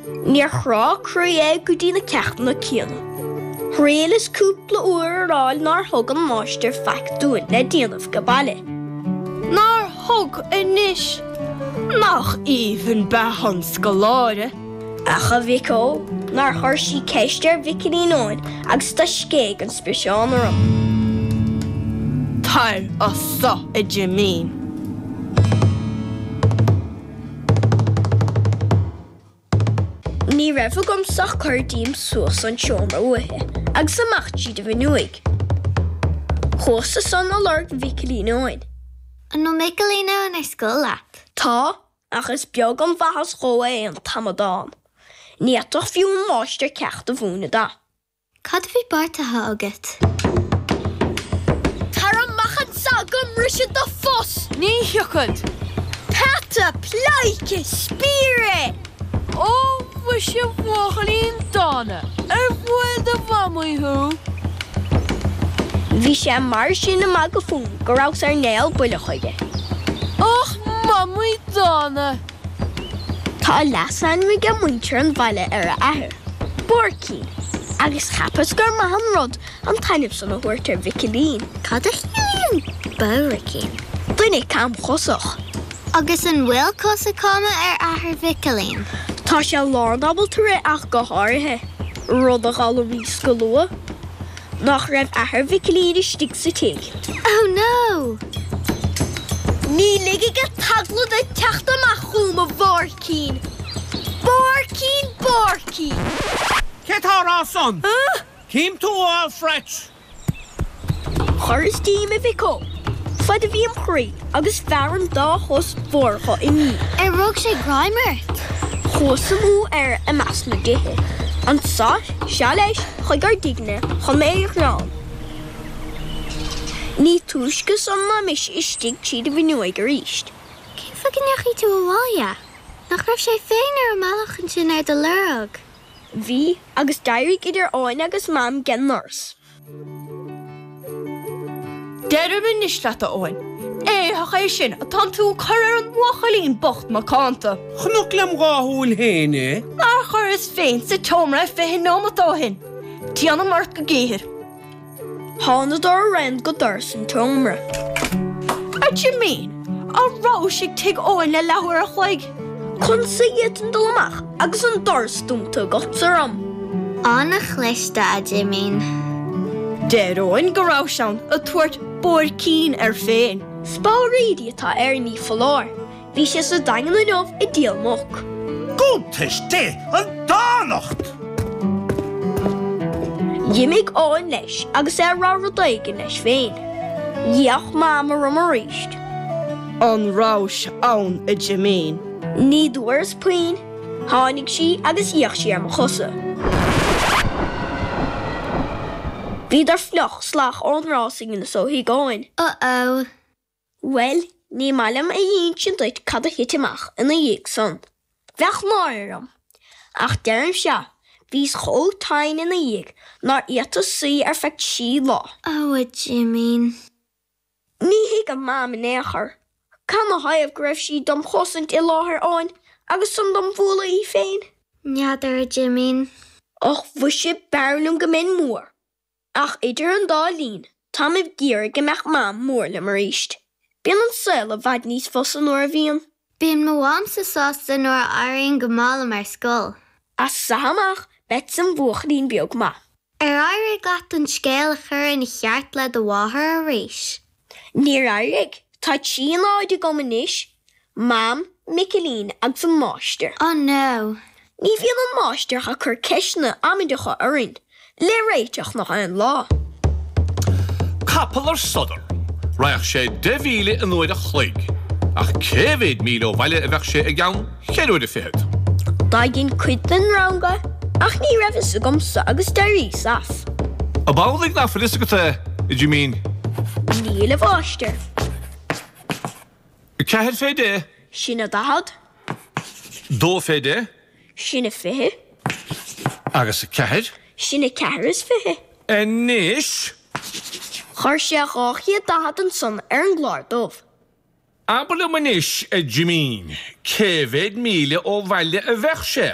Níor chrá croí é go dtí na ceachtanna céanna. Thriaileas cúpla uair a rá nár thug an máistir faic dúinn le déanamh age baile. Nár thug anois! Nach aoibhinn beatha an scoláire! Ach a mhic ó, nár chuir sí ceist ar Mhicilín Eoin agus do scéigh an spiseán orm. Tar as so, a Jimín. Ní raibh agamsa ach cur díom suas an seomra uaithi agus amach tríd an bhfuinneoig. Chuas-sa san a lorg Mhicilín Eoin. An bhfuil Micilín Eoin ar scoil leat? Tá, ach is beag an mhaitheas dhó é an t-amadán. Ní fhéadfadh fiú an máistir ceacht a mhúineadh dó. Cad a bhí beartaithe agat? Tar amach anso go mbrisfead do phus! Ní thiocfad! Peata pleidhce spiaire é! Ó mhuise a bhuachaillín dána, ar bhuail do mhamaí thú? Bhí sé mar sin ag magadh fúm go rabhas ar néal buile chuige. Ach mamaí dána! Tá leasainm aige muintir an bhaile ar a athair, Buaircín, agus cheapas gur maith an rud an t-ainm san a thabhairt ar Mhicilín. Cad a chiallaíonn Buaircín? Duine camchosach. Agus an bhfuil cosa cama ar athair Mhicilín? Tá sé lánábalta rith ach go háirithe, rud a d'fhoghlaimíos go luath. Nach raibh athair Mhicilín istigh sa tigh. Oh no! Ní ligfidh an t-eagla duit teacht amach chugam, a Bhuaircín! Buaircín, Buaircín! Cé tá á rá san? Cím tú a fháil phreits! Chuireas díom, a mhic ó, fad a bhí im chroí agus bhearr an dá chos bhodhracha im dhiaidh. Ar rug sé greim ort? Chuas amú air i measc na dtithe. Anso, sea leis, chuig ár dtigne chun mé a ghreán. Ní túisce san ná mise istigh tríd an bhfuinneoig arís. Cén fáth go ndeachaigh tú abhaile? Nach raibh sé féin ar an mbealach ansin ar do lorg? Bhí, agus d'éirigh idir Eoin agus Mam 'gen ndoras. Deirim anois leat, a Eoin, éitheach é sin atánn tú a cur ar an mbuachaillín bocht macánta. Chonac lem dhá shúil féin é. Nár chuireas féin sa tseomra é 20 neomat ó shin. Déanam ort go géar. Thánadar araon go doras an tseomra. A Jimín, an rabhais ag tigh Eoin le leathuair a chloig? Conas a d'fhéadfainn dul amach agus an doras dúnta agatsa orm? An-chliste, a Jimín. Deir Eoin go rabhais ann ag tabhairt buaircín air féin. Speabhraídí atá air, ní foláir. Bhí sé sa Daingean inniu ag díol muc. Cuntas Dé, an dánacht! D'imigh Eoin leis agus é ag rá rud éigin leis féin. D'fhéach Mam orm arís. An rabhais ann, a Jimín? Ní dúras puinn. Tháinig sí agus d'fhéach sí ar mo chosa. Bhíodar fliuch salach ón rás a dheineas ó thigh Eoin. Uh-oh. Bhuel, ní maith liom a insint duit cad a thit amach ina dhiaidh san. Bheadh náire orm. Ach deirimse, bhíos chomh tinn ina dhiaidh nár fhéadas suí ar feadh trí lá. Ó, a Jimín. Ní thuigim Mam in aon chor. Canathaobh go raibh sí dom chosaint i láthair Eoin agus san dom bhualadh í féin? N'fheadar, a Jimín. Och, mhuise, b'fhearr liom go mbeinn mór. Ach idir an dá linn, táim ag iarraidh go mbeadh Mam mór liom arís. Bíonn an saol i bhfad níos fusa nuair a bhíonn. Bíonn mo mhamsa sásta nuair a éiríonn go maith liom ar scoil. As so amach, beadsa im bhuachaillín beag maith. Ar éirigh leat an scéal a chur ina cheart le do mháthair arís? Níor éirigh. Tá trí náid agam anois, Mam, Micilín agus an máistir. Oh no! Ní bhíonn an máistir ach ag cur ceisteanna amaideacha orainn le réiteach nach aon lá. Capall ar sodar. Raghadh sé 10 mhíle in uair a chloig. Ach cé mhéad míle ó bhaile a bheadh sé i gceann cheithre huaire fichead? D'fhaighinn cuid den rang é, ach ní raibh fhios agamsa agus d'éiríos as. Ab amhlaidh nach bhfuil fhios agat é, a Jimín? Níl, a mháistir. 4 fé 10. Sin a 40. 2 fé 10. Sin a 20. Agus 4. Sin a 24. Anois. Chuir sé 240 ansan ar an gclár dubh. Abair liom anois, a Jimín, cé mhéad míle ó bhaile a bheadh sé?